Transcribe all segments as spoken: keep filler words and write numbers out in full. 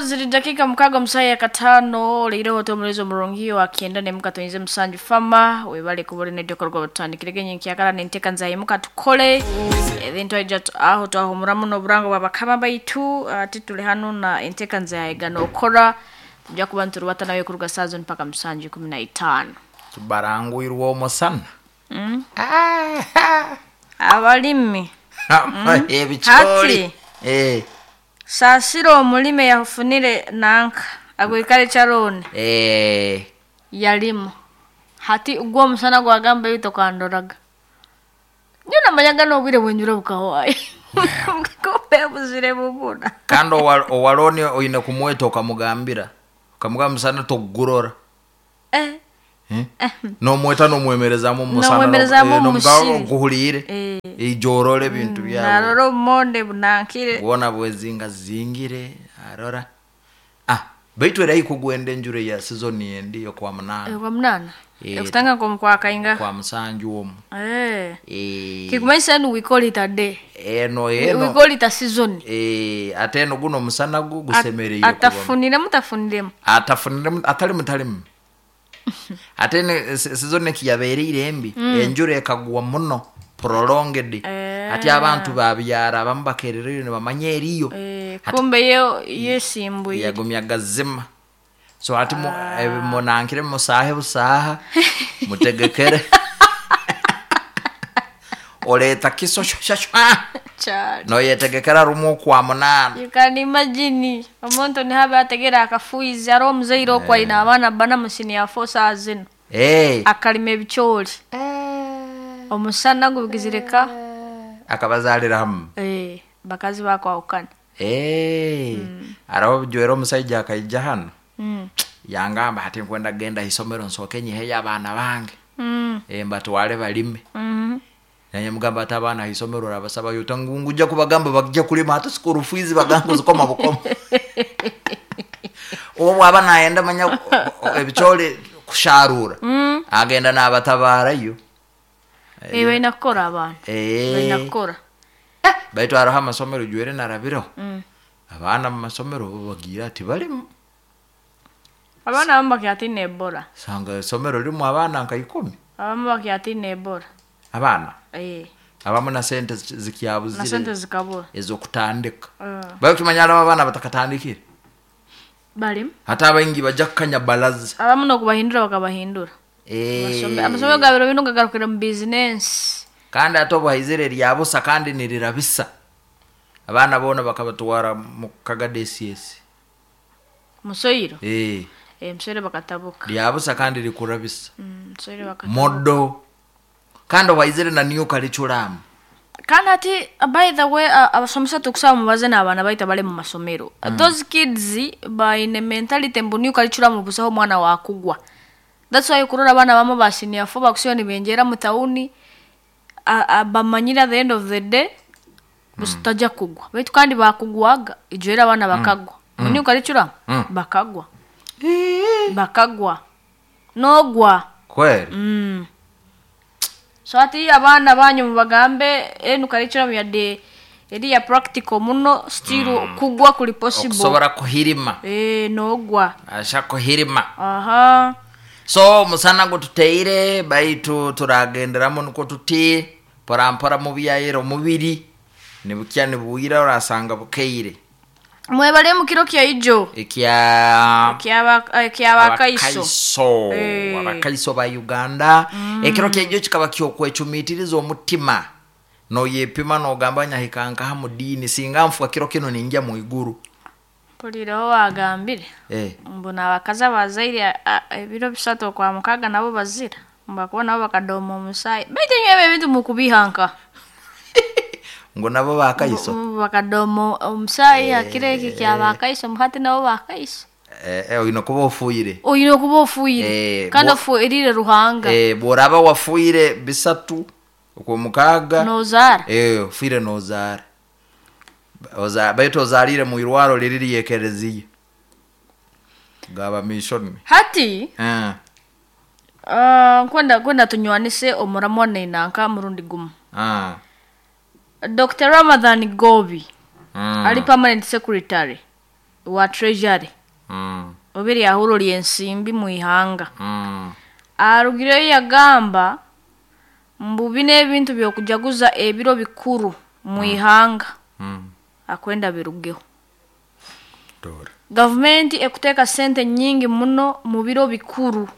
Ziri dakika mukaaga omusaya kataano leireho omulezo omurungi wa kyenda nemuka tuyinze musanju fama webale kuba olina edyokorwa batutandikire genye nkyakala nenteka nzayimuka tukole ebintu aija tu- aho twahumuramu n'oburango bwa bakama baitu. Ati tuli hano na enteka nzayiga nokora tujja kuba nturubata nawe kuruga saa zino mpaka musanju ikumi na itaano. Tubarangwirwe omusana. Mm. Ah, abalimi ebikyoli. Hati. Eh, Saasira omulime yafunire nanka agwikale kyaroni eh, yalimu hati gwo omusana gwagamba ebi tokandoraga nyo namanyaga n'obwire bwenjura bukahwayo kumbe buzire bubura. Kandi owa- owaloni oine kumweta okamugambira okamugamba musana togurora. Eh, Eh? Nomweta nomwemerezamu omusana. Nomwemerezamu omusiri. Nkuhuliire. Eh. Ijorora ebintu byawe. Narora obumonde bunankire. Bwona bwezinga zingire arora, ah, baitu era ikugwenda enjura ya season endi okwa munana. Kwa munana. Eh, ekutanga nkomukwakainga kwa musanju omu. Eh. Eh, Kikumanyisa enu we call it a day. Eno we eno call it a season. Eh, ate eno guno omusana gu At- gusemereire kubamu. Atafuniremu tafuniremu. Atafuniremu atali mutalimu ate ne- se- season ekiyabeereire embi, enjura ekagwa muno prolonged. Eh. Ati abantu babyara abamu bakerereyo nibamanya eriyo. Eh, Ati- kumbe yo yesimbuire. Yagumya gazima, so ati mu- eh, munankire musahe busaha mutegekere oleta kiso shashashwa. Cyane. Noyetegekera rumu okwa munana. You can imagine omuntu nihabe ategera akafuizi ari omuzaire okwo aine abaana bana musini ya four saa zino. Eh, akarima ebikyori omusana gubigizireka. Akabazalira hamu. Eh, bakazi bakwahukana. Eh, araho bijwera omusaija akaija hano Mm. yangamba ati nkwenda genda isomero nsooke nyiheyo abaana bange. Mm. Eh, mbatwale balime. Mhm. Naye mugamba ati abaana isomero orabasabayo nguja kubagamba bagija kulima ate school fees bagamba zikoma bukoma obo bwaba nayenda manya ebikyoli kusharura Mm. agenda n'abatabaarayo. Eh, balina kukora abaana balina Eh, kukora. Baitu hariho amasomero jwere narabireho Mm. abaana mu masomero bo bagira ati balimu. Abaana abamu bakyatina ebola. Sanga isomero ririmu abaana nka ikumi. Abamu bakyatina ebola. Abaana Eh, abamu na sente zi- na zikyabuzire sente zikabura. ez'okutandika. Eh, Bakimanya hariho abaana batakatandikire. Balimu. Ate abaingi bajja kukanya balaza. Abamu n'okubahindura bakabahindura. Eh, Amasomero- amasomero ga biro bino gagarukire mu bizinensi. Kandi ate obuhaizire ryabusa kandi nirirabisa abaana boona bakabatwara mu kagadesiesi. Musoyiro. Eh, Eh, musoyiro bakatabuka. Ryabusa kandi rikurabisa. Mm, musoyiro bakatabuka. Modo kandi obuhaizire na new curriculum. Kandi ati by the way, uh, abasomesa tukusaba mubaze n'abaana baita bali mu masomero. Those kids baine mentality mbu new curriculum busaho omwana wakugwa. That's why kurora abaana bamu ba senior four bakusiba nibenjera mu tawuni a- a- bamanyire at the end of the day busitajja kugwa, baitu kandi bakugwaga ijwera abaana bakagwa mu new curriculum. Mm. Bakagwa bakagwa nogwa. Kweri. Mm. So ati abaana banyu mubagambe enu curriculum yadde eri ya practical muno, still kugwa kuli possible. Okusobora kuhirima. Eh, nogwa. Asha kuhirima. Aha. So omusana gututeire baitu turagenderamu nukwo tuti porampora mubyayira omubiri nibukya nibuwira orasanga bukeire. Mwebale mu kiro kya ijo. Ekya ekyabakaiso. Abakaiso. Eh. Abakaiso ba Uganda, ekiro kyaijo kikaba kyokwecumitiriza omutima noyepima nogamba nyahikankaha mu diini singa nfuka kiro kino ninjya mu iguru. Mpulireho wagambire Eh. mbu n'abakazi abazaire a- a- ebiro bisatu okwa mukaaga nabo bazira mbakuba nabo bakadoma omusaayi, baitu enyo ebyo ebintu mukubihanka. Ngo nabo bakaiso. Mbu bakadoma omusaayi hakiro eki kyabakaiso muhati nabo bakaiso. Eh, eh, oine kuba ofuire. Oyine okuba ofuire. Eh, kandi bwo- ofuirire Ruhanga. Eh, bworaba wafuire bisatu okwomukaaga Nozaara. eh, ofuire nozaara. Oza- baitu ozarire mu irwaro riri ryekereziya gaba mission. Hati eh. uh, nkwenda kwenda tunywanise omuramwa nenanka murundi gumu. Ah. Doctor Ramadhan Gobi Mm. ali permanent secretary. Wa treasury Mm. oba eryahuro ly'ensimbi mu ihanga Mm. arugireyo yagamba mbu bino ebintu byokujaguza ebiro bikuru mu ihanga Mm. akwenda birugeho. Dora. Gavumenti ekuteeka sente nyingi muno mu biro bikuru,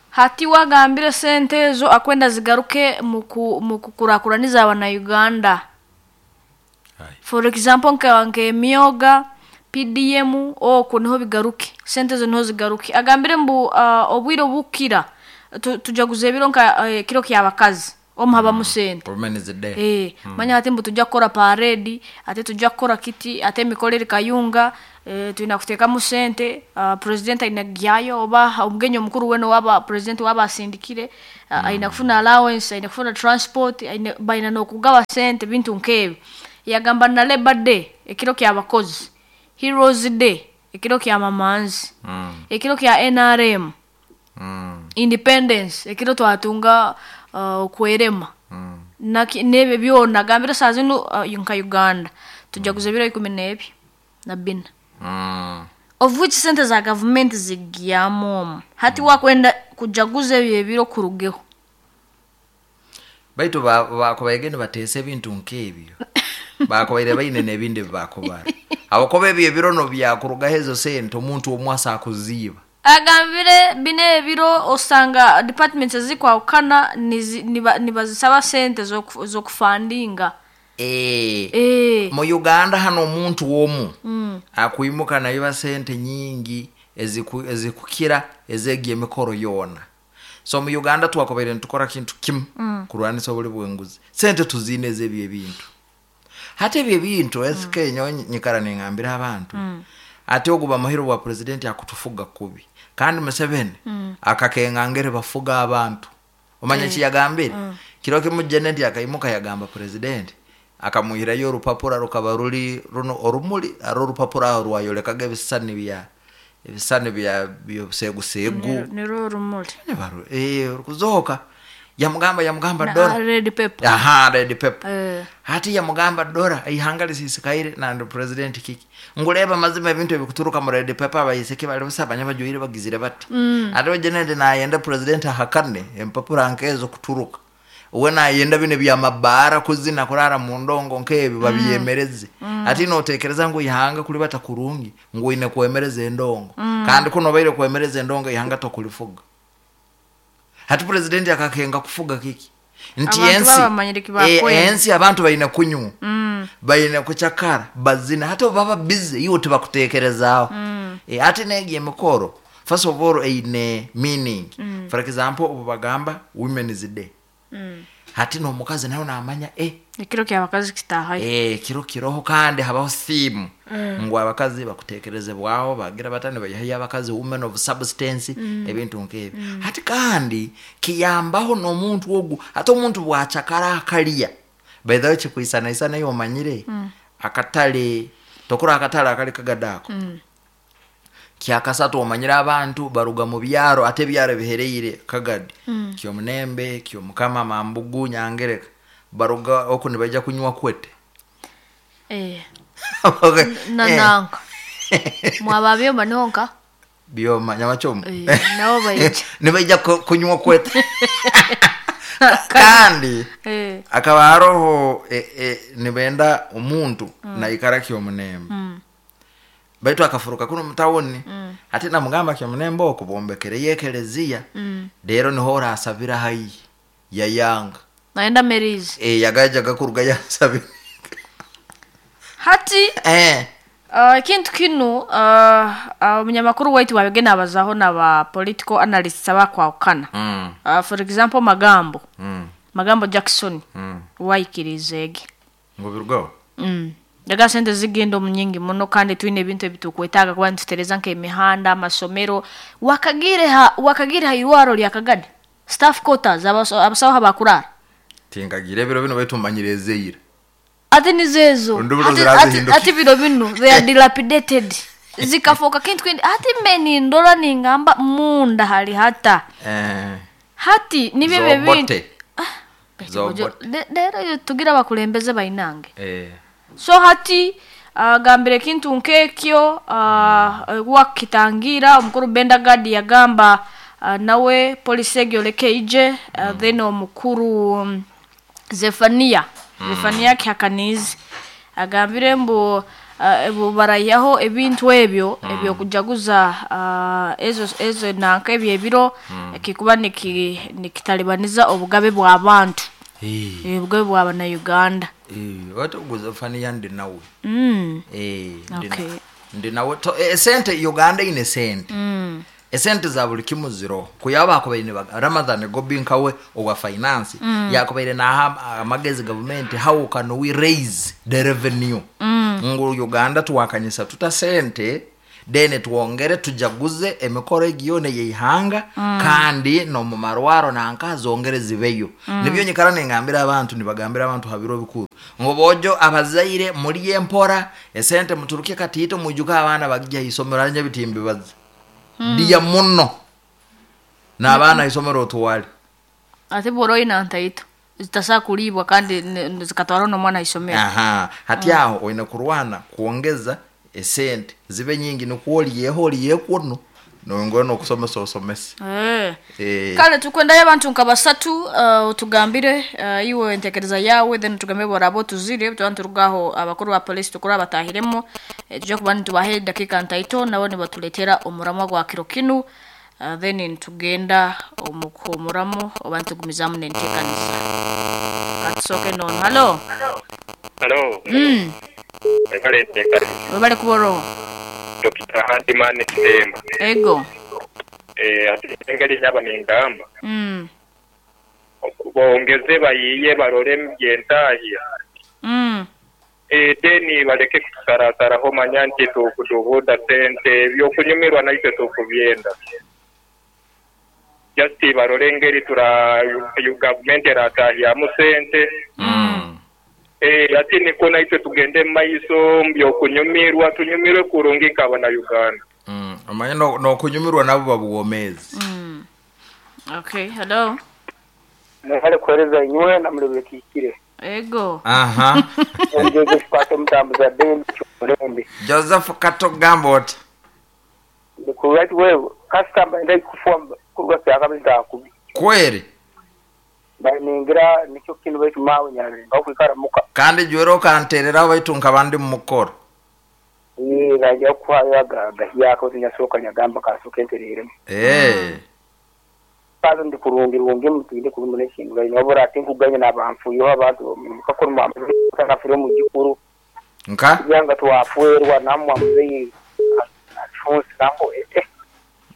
hati wagambire sente ezo akwenda zigaruke mu ku- mu kukurakuraniza abanauganda. Ai. For example, nka nk'emyoga P D M, okwo niho bigaruke, sente ezo niho zigaruke. Agambire mbu uh, obwire obukira tu- tujaguza ebiro nka uh, kiro kyabakazi, omu habamu sente. Women's Day. Eh, manya ate mbu tujja kukora parade, ate tujja kukora kiti, ate emikorere kayunga, eh, tulina kuteekamu sente. uh, president aina kugyayo oba omugenyi omukuru wena waba president waba asindikire, uh, aina kufuna allowance, aina kufuna transport, aina baina n'okugaba sente, bintu nk'ebyo. Yagamba na Labor Day, ekiro ky'abakozi, Heroes Day, ekiro kya mamanzi, Mm. ekiro kya N R M, Mm. independence, ekiro twatunga uh, okwerema, Mm. Naki- n'ebyo byona agambire saa zinu uh, nka Uganda tujaguza ebiro ikumi n'ebi na bina, Mm. of which sente za gavumenti zigyamu omu. Hati wakwenda kujaguza ebyo ebiro kurugeho. Baitu ba- bakubaire nibateesa ebintu nk'ebyo, bakubaire baine n'ebindi bibakubara, abakuba ebyo ebiro no byakurugaho ezo sente omuntu omwe asakuziiba. Agambire bino ebiro osanga departments ezikwawukana nizi- niba- nibazisaba sente z'oku- z'okufandinga. Eh. Eh. Mu Uganda hano omuntu omu akwimuka nayiba sente nyingi eziku- ezikukira ezegi emikoro yoona. So mu Uganda twakubaire nitukora kintu kimu, kurwanisa obuli bwenguzi. Sente tuziine ezebyo ebintu. Hati ebyo ebintu esike nyowe nyikara ningambira abantu, ate oguba muhiro bwa president akutufuga kubi, kandi Museveni akakengangere bafuga abantu. Omanya kiyagambire kiro kimu, Janet akaimuka yagamba president akamuhirayo orupapura rukaba ruri runo orumuri aro orupapura aho rwayolekaga ebisani bya ebisani bya byobuseguseegu. Nirwo orumuri. Nibaru- eh, rukuzoka yamugamba yamugamba Na- dora red paper. Aha, red paper. Eh. Hati yamugamba, dora ihanga lisisikaire nandi president kiki ngureba mazima ebintu ebikuturuka mu red paper, abayiseke bali busa abanya bagizire bati mm. Ate jenende nayenda president ahakane empapura nkezo kuturuka, we nayenda bino byamabara kuzina kurara mu ndongo nkebi babyemereze mm. Ati notekereza ngu ihanga kuli bata kurungi ngu ine kwemereza endongo mm. Kandi kuno baire kwemereza endongo, ihanga tokulifuga. Hati president akakenga kufuga kiki nti Abantu ensi baba bamanyire eh, kibakwenda. Ensi abantu baine kunywa mm. baine kucakara, bazina. Hati baba busy iwe tibakutekerezaaho mm. E, ate negi emikoro first of all eine meaning mm. For example, obu bagamba Women's Day mm. hati n'omukazi nawe namanya eh, Ekiro kyabakazi kitahayo. eh, kiro kiroho kandi habaho theme mm. ngu abakazi bakutekerezebwaho, bagira batani bayihayo abakazi, women of substance mm. ebintu nk'ebyo mm. Hati kandi kiyambaho n'omuntu ogu, ate omuntu bwacakara akalya. By the way, kikwisanaisana iyo omanyire mm. akatale tokura akatale akali kagadaako mm. kyakasatu omanyire abantu baruga mu byaro, ate ebyaro bihereire Kagadi mm. Kyomunembe, Kyomukama, Mambugu, Nyangereka, baruga oku nibaija kunywa kwete. Eh. Okay. Na Eh, nanka mwaba byoma nonka. Byoma Nyamachomo. Eh, nabo baija. Nibaija ku- kunywa kwete kandi Eh. akaba haroho e, e, nibenda omuntu mm. naikara Kyomunembe mm. baitu akafuruka kuno mutawuni mm. ate namugamba, Kyomunembe oko bombekereyo ekeleziya mm. rero niho orasabira haihi. Yayanga. Naenda merizi. E, yagajaga kuruga yasabira. Hati eh. Uh, ekintu kinu uh, uh, omunyamakuru waitu wabigenda abazaho naba political analysts abakwawukana. mm. uh, for example, Magambo, mm. Magambo Jackson, mm. wayikiriza ege. Ngo birugaho. mm. Yaga sente zigenda omu nyingi muno, kandi twine ebintu ebitukwetaaga kuba nitutereza nk'emihanda, amasomero. Wakagire ha wakagire ha irwaro lya Kagadi staff quarters, abaso- abasawo habakurara. Tinkagira ebiro bino, baitu manyire ezeira. Ate nizezo. Ondi biro Ate- zirazihinduka. ate- ate biro bino they are dilapidated, zikafoka kintu kindi. Ate mbe nindora ningamba munda hali hata eh. hati nibyo ebyo bintu. Zobote. Zobote. Le- leero yo tugira abakulembeze bainange. Eh. So hati Agambire ekintu nk'ekyo uh, wakitangira omukuru Benda Gadi yagamba uh, nawe polisi egyo leke ije uh, then omukuru um, Zefania Zefania Kihakanizi agambire mbu uh, bu barayaho ebintu ebyo ebyokujaguza uh, ezo ezo nanka ebyo ebiro kikuba niki nikitalibaniza obugabe bw'abantu Eh, eh, obugabe bw'abana Uganda. eh, wati Zefania ndi nawe. Mm. Eh, ndi na- Okay. ndi nawe. To- eh, sente Uganda ine sente Mm. esente za buli kimu ziro kuyaba akubaire Ramadhan Gobi nkawe owa finance mm. yakubaire naha amagezi government how can we raise the revenue mm. ngu Uganda tuwakanyisa tuta sente then twongere tujaguze emikoro egiyone yeihanga mm. kandi nomumarwaro nanka zongere zibeyo mm. nibyo nyikara nengambira abantu nibagambira abantu habiro bikuru ngo bojo abazaire muri empora esente muturuke katito mujuka abana bagija isomero anya bitimbi bazi mm. diya muno n'abaana isomero otwale Ate bw'oroyi nantaito zitasa kulibwa kandi ne- ne- zikatwara n'omwana isomero. Aha hati aho oine kurwana kuongeza esente zibe nyingi nikwo oliyeho oliyekwono nongera nokusomesa osomese. Eh. Eh, Kale tukwendayo abantu nka basatu uh, utugambire uh, iwe entekereza yawe then tugambire borabo tuzire tuba turugaho abakuru ba polisi tukura abatahiremo eh, tujya kuba nitubahe dakika ntaito nabo nibatuletera omuramwa gwa kiro kinu uh, then nitugenda omukuhumuramu oba nitugumizamu nenteekaniza katusoke nono. Halo. Halo, mm. ekaletekale Webale kuboroho. Dokita Handiman Kitemba. Ego. Eh, ate engeri nyaba nengamba mm. bongeze bayiye barole byentahya. Mm. Eh, deni baleke kutusarasaraho manya nti tukudubuda sente ebyokunyumirwa naitwe tukubyenda. Just barole engeri tura gavumenti eratahyamu sente. mm. Eh, ati niko naitwe tugende mu maiso mbyokunyumirwa tunyumirwe kurungi nk'abana Uganda. Mm. Omanye no- nokunyumirwa nabo babuwomezi. Mm. Okay, hello. Nihale kuhereza inywe na mulebe kikire. Ego. Aha. Joseph Kato mutambuza bendi ky'omulembe. Joseph Kato gamba oti Ndikurait wewe customer ndai kufuwa kuruga kyakabita kubi. kweri Baningira nikyo kintu baitu mawe nyare bakwikara muka. kandi jwero okantereraho baitu nkaba ndi mumukoro. Ni rajya kuhayo agahyako tinyasoka nyagamba kasoka entereremo. Eh. Kazo ndi kurungi rungi mutinde kurungi nekintu gai nobora ati nkuganya n'abanfu yo abantu mukakora mu kafire mu gikuru. Nka Yanga twafuerwa namwe muzeyi Alphonse nambo eh.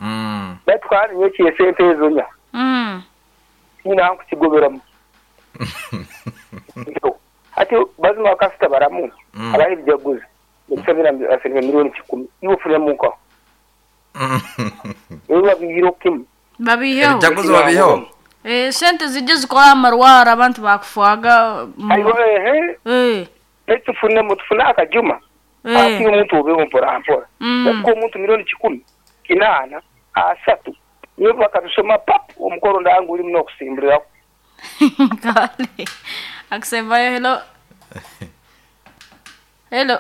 mm. Baitu kandi nyekiye sente ezonya. Mm. Nina nkukigoberamu. Ati bazima bakasita baramu. Mm. Abahe byaguze. Nsabira afirime miliyoni kikumi. Iwo fure muka. Iwo bihiro kimu. Babiheho. Ebyaguzo babiheho. Eh, sente zijje zikora amarwara abantu bakufuaga mu- Ayo ehe eh baitu fune mutufuna akajuma. Ati eh omuntu obeho mpora mpora. Mm. Kuko omuntu miliyoni kikumi kinana asatu. Niyo bakabisoma pap omukoro ndangu uri muno kusimburira. Kale akusembayo. Hello, hello.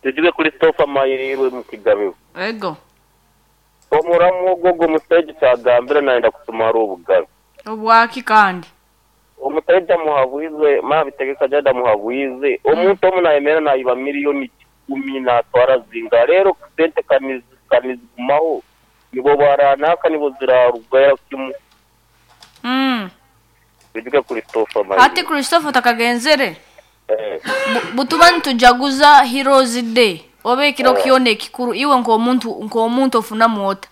Tugize kuri Christopher Mayirirwe mu Kigabe. Ego. Omuramu ogwo omusajja kyagambira nayenda kutumara obugabe. Obwaki kandi Omusajja muhabwize mabitegeka jada muhabwize omuntu omu nayemera nayiba miliyoni kumi natwara zinga rero sente kanizi kanizigumaho nibo baranaka nibo zirarugaya kimu. mm. Tugize kuri Christopher Ati Mayirirwe. Christopher takagenzere. Eh. Bu- butuba nitujaguza Heroes Day oba ekiro kyona ekikuru iwe nk'omuntu nk'omuntu ofunamu ota?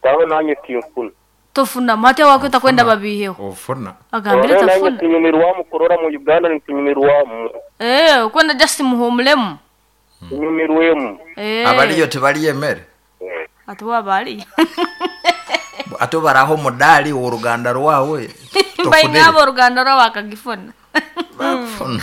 Tawe nanye tinkuna. Tofunamu ate wakwe takwenda babiheho. Ofuna. Agambire Nanye tafuna. tunyumirwamu kurora mu Uganda nitunyumirwamu. Eh, okwenda just muhumulemu. Tunyumirwemu. Eh. Abaliyo tebaliyemere. Ate wabali Ate baraho omudali w'oruganda rwawe. baingabo oruganda rwabo akagifuna. Bakufuna.